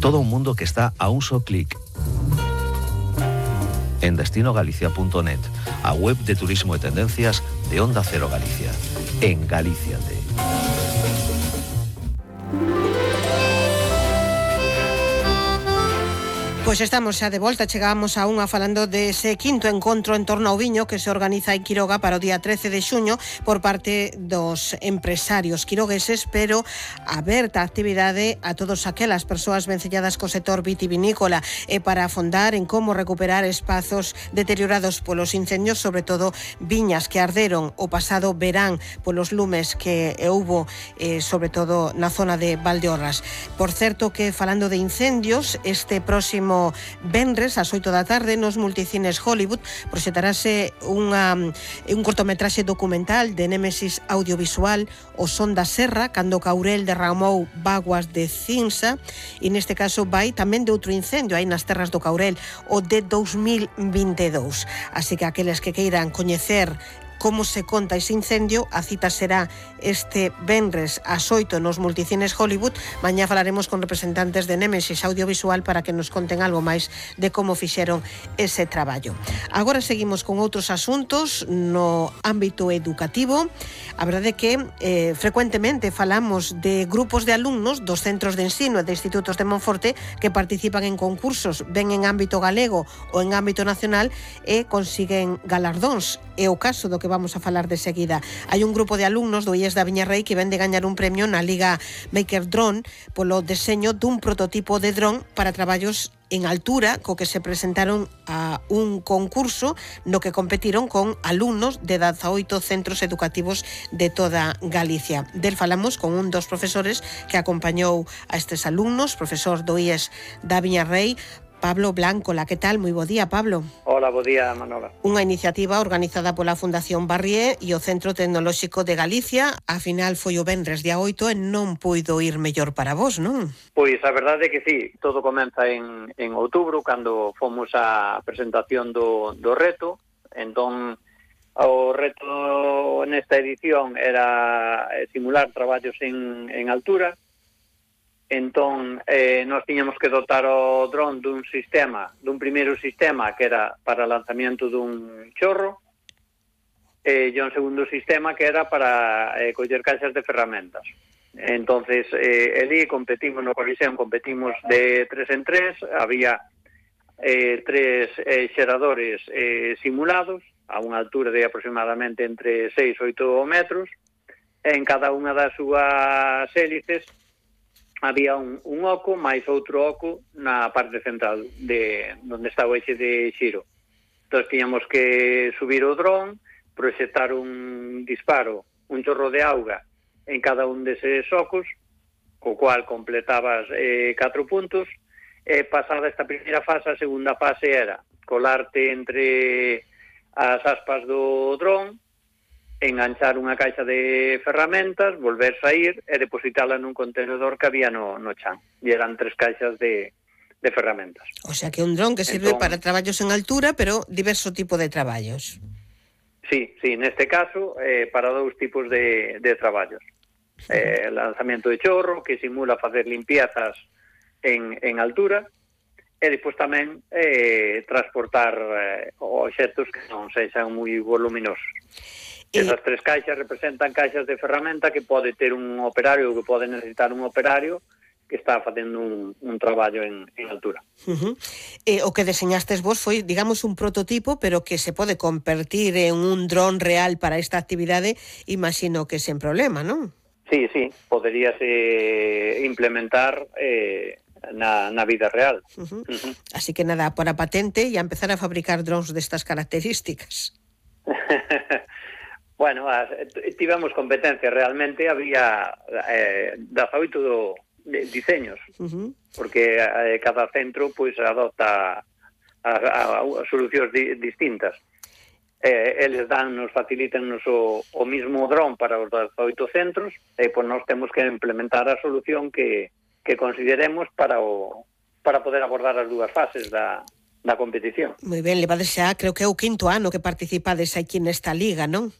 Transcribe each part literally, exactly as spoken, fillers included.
Todo un mundo que está a un só clic. En destino galicia punto net, a web de turismo e tendencias de Onda Cero Galicia. En Galíciate. Pois estamos xa de volta, chegamos a unha falando dese quinto encontro en torno ao viño que se organiza en Quiroga para o día trece de xuño por parte dos empresarios quirogueses, pero aberta a actividade a todas aquelas persoas vencelladas co sector vitivinícola e para afondar en como recuperar espazos deteriorados polos incendios, sobre todo viñas que arderon o pasado verán polos lumes que houbo, eh, sobre todo na zona de Valdeorras. Por certo que falando de incendios, este próximo venres ás oito da tarde nos multicines Hollywood proxetarase unha, un cortometraxe documental de Némesis Audiovisual, O son da serra, cando Caurel derramou vaguas de cinza, e neste caso vai tamén de outro incendio aí nas terras do Caurel, o de dous mil vinte e dous. Así que aqueles que queiran coñecer como se conta ese incendio, a cita será este venres ás oito nos multicines Hollywood. Mañá falaremos con representantes de Némesis Audiovisual para que nos conten algo máis de como fixeron ese traballo. Agora seguimos con outros asuntos no ámbito educativo. A verdade é que eh, frecuentemente falamos de grupos de alumnos dos centros de ensino e de institutos de Monforte que participan en concursos, ben en ámbito galego ou en ámbito nacional, e consiguen galardóns. É o caso do que vamos a falar de seguida. Hai un grupo de alumnos do I E S da Viñarrei que ven de gañar un premio na Liga Maker Drone polo deseño dun prototipo de dron para traballos en altura, co que se presentaron a un concurso no que competiron con alumnos de dezaoito centros educativos de toda Galicia. Del falamos con un dos profesores que acompañou a estes alumnos, profesor do I E S da Viñarrei, Pablo Blanco. La, que tal? Moi bo día, Pablo. Hola, bo día, Manola. Unha iniciativa organizada pola Fundación Barrié e o Centro Tecnolóxico de Galicia. A final foi o venres día oito e non puido ir mellor para vos, non? Pois a verdade é que sí, todo comeza en, en outubro, cando fomos á presentación do, do reto. Entón, o reto nesta edición era simular traballos en, en altura. Entón, eh, nós tiñamos que dotar o dron dun sistema, dun primeiro sistema que era para lanzamiento dun chorro, e un segundo sistema que era para eh, coller caixas de ferramentas. Entonces, eh, elí competimos no Coliseum, competimos de tres en tres, había eh, tres eh, xeradores eh, simulados, a unha altura de aproximadamente entre seis e oito metros, en cada unha das súas hélices había un, un oco máis outro oco na parte central de onde está o eixe de xiro. Entón, tiñamos que subir o dron, proxectar un disparo, un chorro de auga en cada un deses ocos, co cual completabas eh, catro puntos, e pasada esta primeira fase, a segunda fase era colarte entre as aspas do dron, enganchar unha caixa de ferramentas, volver sair e depositala nun contenedor que había no, no chan. E eran tres caixas de, de ferramentas. O sea que un dron que sirve entón, para traballos en altura, pero diverso tipo de traballos. Sí, sí, neste caso, eh, para dous tipos de, de traballos. Eh, lanzamiento de chorro, que simula facer limpiezas en, en altura, e depois tamén eh, transportar eh, obxectos que non sexan moi voluminosos. Esas tres caixas representan caixas de ferramenta que pode ter un operario ou que pode necesitar un operario que está facendo un, un traballo en, en altura. Uh-huh. E o que deseñastes vos foi, digamos, un prototipo, pero que se pode convertir en un dron real para esta actividade, imagino que sen problema, non? Sí, sí, poderíase implementar eh, na, na vida real. Uh-huh. Uh-huh. Así que nada, para patente e a empezar a fabricar drones destas características. Bueno, as, tivemos competencia, realmente había eh, dezaoito do, de, diseños, uh-huh. porque eh, cada centro pois adopta a, a, a solucións di, distintas. Eh, eles dan, nos facilitan nos o, o mismo dron para os dezaoito centros, e pois nós temos que implementar a solución que, que consideremos para o para poder abordar as dúas fases da, da competición. Moi ben, levades xa, creo que é o quinto ano que participades aquí nesta liga, non?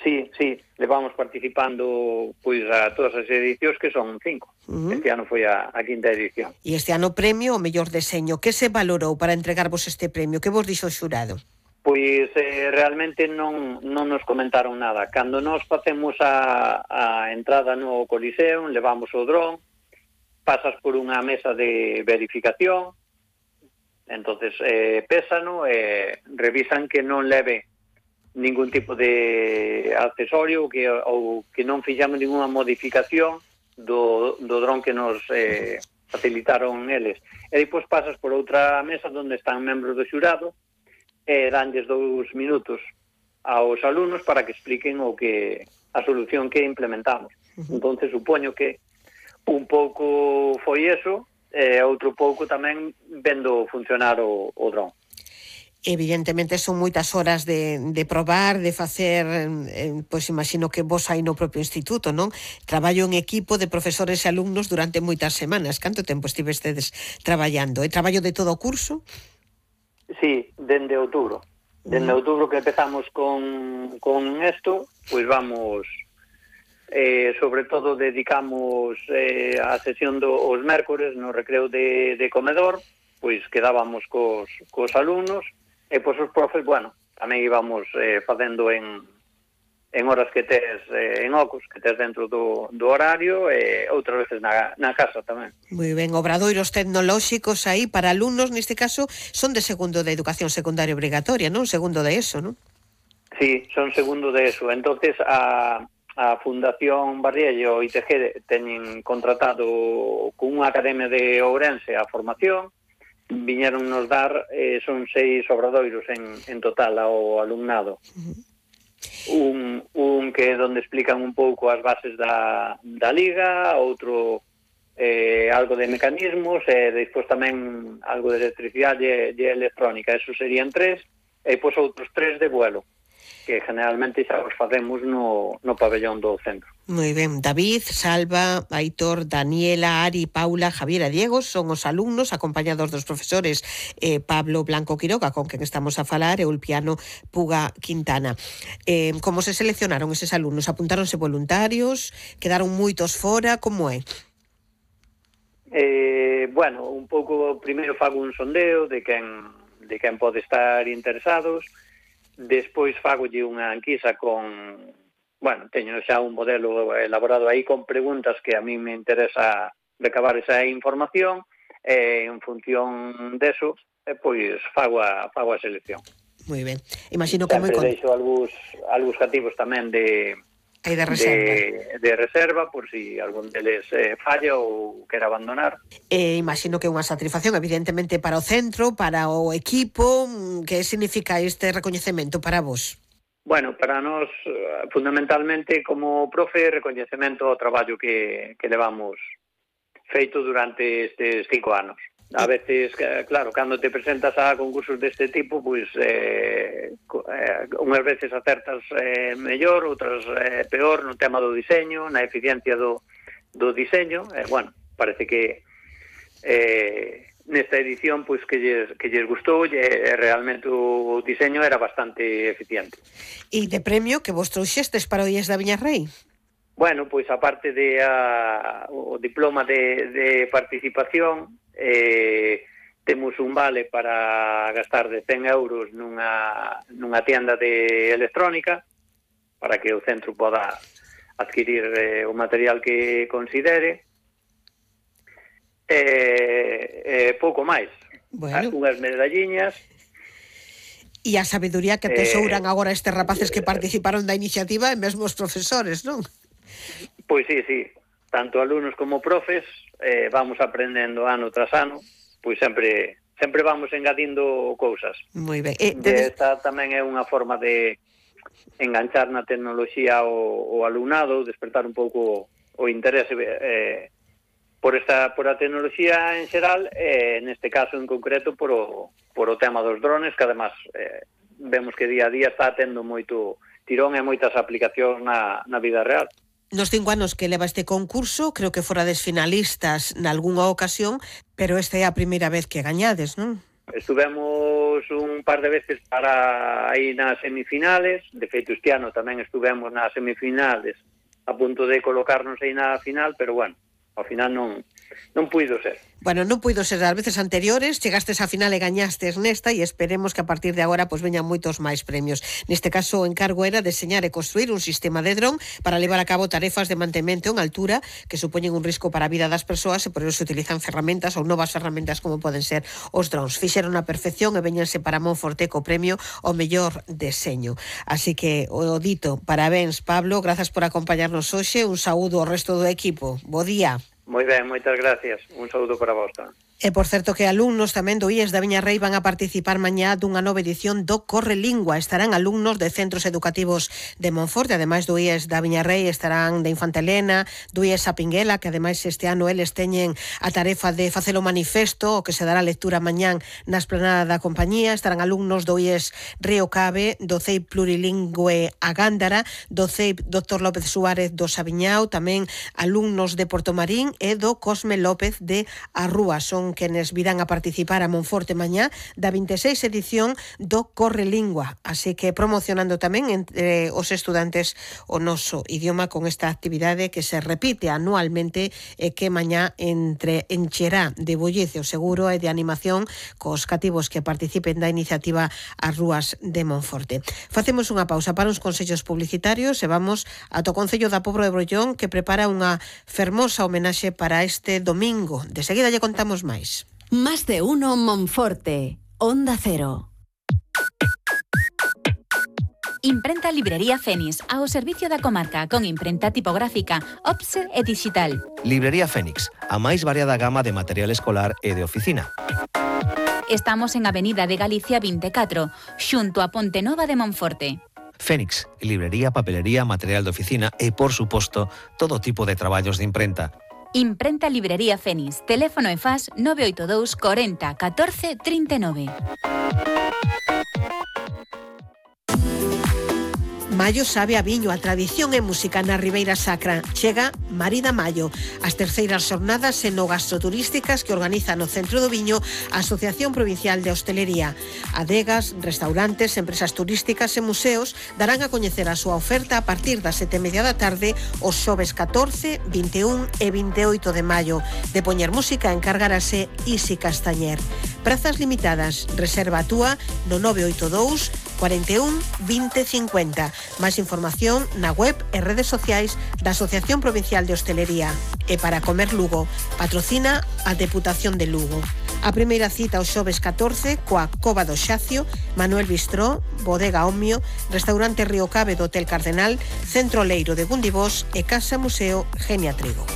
Sí, sí, levamos participando pois a todas as edicións, que son cinco. Uh-huh. Este ano foi a, a quinta edición. E este ano premio o mellor deseño. Que se valorou para entregarvos este premio? Que vos dixo o xurado? Pois eh, realmente non, non nos comentaron nada. Cando nos facemos a, a entrada no Coliseo, levamos o dron, pasas por unha mesa de verificación, entonces eh, pésano e eh, revisan que non leve ningún tipo de accesorio que, ou que non fixamos ninguna modificación do, do dron que nos eh, facilitaron eles. E depois pasas por outra mesa onde están membros do xurado e danlles dous minutos aos alumnos para que expliquen o que a solución que implementamos. Entonces supoño que un pouco foi eso e outro pouco tamén vendo funcionar o, o dron. Evidentemente son moitas horas de, de probar, de facer, eh, pois imagino que vos aí no propio instituto, non? Traballo en equipo de profesores e alumnos durante moitas semanas. Canto tempo estivestedes traballando? É traballo de todo o curso? Sí, dende outubro. Dende mm. outubro que empezamos con, con esto, pois vamos, eh, sobre todo dedicamos eh, a sesión dos mércores no recreo de, de comedor, pois quedábamos cos, cos alumnos. E pois os profes, bueno, tamén íbamos eh, facendo en, en horas que tes eh, en ocos, que tes dentro do, do horario, e outras veces na, na casa tamén. Moi ben, obradoiros tecnolóxicos aí para alumnos, neste caso, son de segundo de educación secundaria obrigatoria, non? Segundo de eso, non? Sí, son segundo de eso. Entonces a, a Fundación Barrielle e o I T G teñen contratado con unha academia de Ourense a formación. Viñeron nos dar, eh, son seis obradoiros en, en total ao alumnado. Uh-huh. Un, un que é onde explican un pouco as bases da, da liga, outro eh, algo de mecanismos, e despois tamén algo de electricidade e, e electrónica. Esos serían tres, e depois outros tres de vuelo, que generalmente xa os facemos no, no pabellón do centro. Moi ben, David, Salva, Aitor, Daniela, Ari, Paula, Javier e Diego son os alumnos acompañados dos profesores eh, Pablo Blanco Quiroga, con quen estamos a falar, e Ulpiano Puga Quintana. Eh, como se seleccionaron eses alumnos? Apuntáronse voluntarios? Quedaron moitos fora? Como é? Eh, bueno, un pouco, primeiro fago un sondeo de quen, de quen pode estar interesados. Despois fagolle unha enquisa con, bueno, teño xa un modelo elaborado aí con preguntas que a mí me interesa recabar esa información, e en función deso, eh, pois fago a, fago a selección. Moi ben. Imagino que moi con... deixo algús, algús cativos tamén de, de reserva. De, de reserva, por si algún deles eh, falla ou quer abandonar. Eh, imagino que unha satisfacción, evidentemente, para o centro, para o equipo. Que significa este recoñecemento para vos? Bueno, para nós, fundamentalmente, como profe, recoñecemento ao traballo que, que levamos feito durante estes cinco anos. A veces, claro, cando te presentas a concursos deste tipo, pois eh, eh, unhas veces acertas eh, mellor, outras eh, peor no tema do diseño, na eficiencia do, do diseño. Eh, bueno, parece que eh, nesta edición pois que lles, que lles gustou, e realmente o diseño era bastante eficiente. E de premio que vos trouxestes para o I E S da Viñarrei? Bueno, pois aparte de a, o diploma de, de participación, eh, temos un vale para gastar de cen euros nunha, nunha tienda de electrónica para que o centro poda adquirir eh, o material que considere. E eh, pouco máis. Bueno. Unhas medalliñas. E a sabedoría que atesouran eh, agora estes rapaces que participaron da iniciativa e mesmo os profesores, non? Pois sí, sí. Tanto alumnos como profes eh, vamos aprendendo ano tras ano, pois sempre sempre vamos engadindo cousas. Moi ben. Eh, tenes... Esta tamén é unha forma de enganchar na tecnoloxía o, o alumnado, despertar un pouco o interese eh, por esta por a tecnoloxía en xeral, e eh, neste caso en concreto por o, por o tema dos drones, que además eh, vemos que día a día está tendo moito tirón e moitas aplicacións na, na vida real. Nos cinco anos que leva este concurso, creo que forades finalistas nalgúnha ocasión, pero esta é a primeira vez que gañades, non? estuvemos un par de veces para aí nas semifinales, de feito este ano tamén estuvemos nas semifinales a punto de colocarnos aí na final, pero bueno, ao final non non puido ser. Bueno, non puido ser as veces anteriores, chegastes á final e gañastes nesta e esperemos que a partir de agora pois veñan moitos máis premios. Neste caso o encargo era deseñar e construir un sistema de dron para levar a cabo tarefas de mantemento en altura que supoñen un risco para a vida das persoas e por eso se utilizan ferramentas ou novas ferramentas como poden ser os drons. Fixeron a perfección e veñanse para Monforte co premio ao mellor deseño. Así que o dito, parabéns Pablo, grazas por acompañarnos hoxe, un saúdo ao resto do equipo. Bo día. Moi ben, moitas gracias. Un saúdo para vos tamén. E, por certo, que alumnos tamén do I E S da Viñarrei van a participar mañá dunha nova edición do Corre Lingua. Estarán alumnos de centros educativos de Monforte, ademais do I E S da Viñarrei, estarán de Infanta Elena, do I E S a Pinguela, que ademais este ano eles teñen a tarefa de facer o manifesto, o que se dará lectura mañán na esplanada da compañía. Estarán alumnos do I E S Río Cabe, do C E I P Plurilingüe a Gándara, do C E I P Doctor López Suárez do Sabiñao, tamén alumnos de Portomarín e do Cosme López de Arrúa. Son quenes virán a participar a Monforte mañá da vinte e seis edición do Corre Lingua, así que promocionando tamén entre os estudantes o noso idioma con esta actividade que se repite anualmente e que mañá entre encherá de bullicio seguro e de animación cos cativos que participen da iniciativa As Rúas de Monforte. Facemos unha pausa para uns consellos publicitarios e vamos ata o Concello da Pobra de Brollón, que prepara unha fermosa homenaxe para este domingo. De seguida lle contamos máis. Más de uno Monforte, Onda Cero. Imprenta Librería Fénix, ao servicio da comarca, con imprenta tipográfica, offset e digital. Librería Fénix, a máis variada gama de material escolar e de oficina. Estamos en Avenida de Galicia vinte e catro, xunto a Ponte Nova de Monforte. Fénix, librería, papelería, material de oficina e, por suposto, todo tipo de traballos de imprenta. Imprenta Librería Fénix, teléfono e faz nove oito dous cuarenta catorce trinta e nove. Maio sabe a viño, a tradición e música na Ribeira Sacra. Chega Marida Maio, as terceiras xornadas enogastroturísticas que organiza no Centro do Viño a Asociación Provincial de Hostelería. Adegas, restaurantes, empresas turísticas e museos darán a coñecer a súa oferta a partir das sete e media da tarde os xoves catorce, vinte e un e vinte e oito de maio. De poñer música encargarase Isi Castañer. Prazas limitadas, reserva a túa no nove oito dous cuarenta e un vinte cincuenta. Máis información na web e redes sociais da Asociación Provincial de Hostelería. E para comer Lugo, patrocina a Deputación de Lugo. A primeira cita o xoves catorce coa Cova do Xacio, Manuel Bistró, Bodega Omio, Restaurante Río Cabe do Hotel Cardenal, Centro Leiro de Gundibós e Casa Museo Genia Trigo.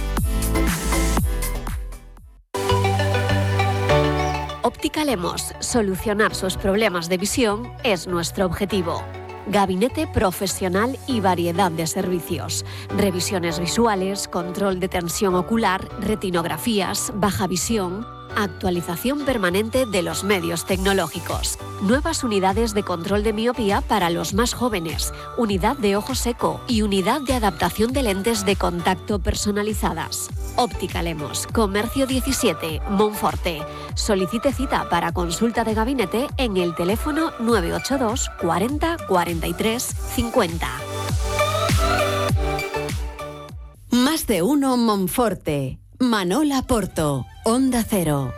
Óptica Lemos, solucionar sus problemas de visión es nuestro objetivo. Gabinete profesional y variedad de servicios. Revisiones visuales, control de tensión ocular, retinografías, baja visión, actualización permanente de los medios tecnológicos. Nuevas unidades de control de miopía para los más jóvenes, unidad de ojo seco y unidad de adaptación de lentes de contacto personalizadas. Óptica Lemos, Comercio diecisiete, Monforte. Solicite cita para consulta de gabinete en el teléfono nueve ocho dos cuarenta cuarenta y tres cincuenta. Más de uno Monforte. Manola Porto, Onda Cero.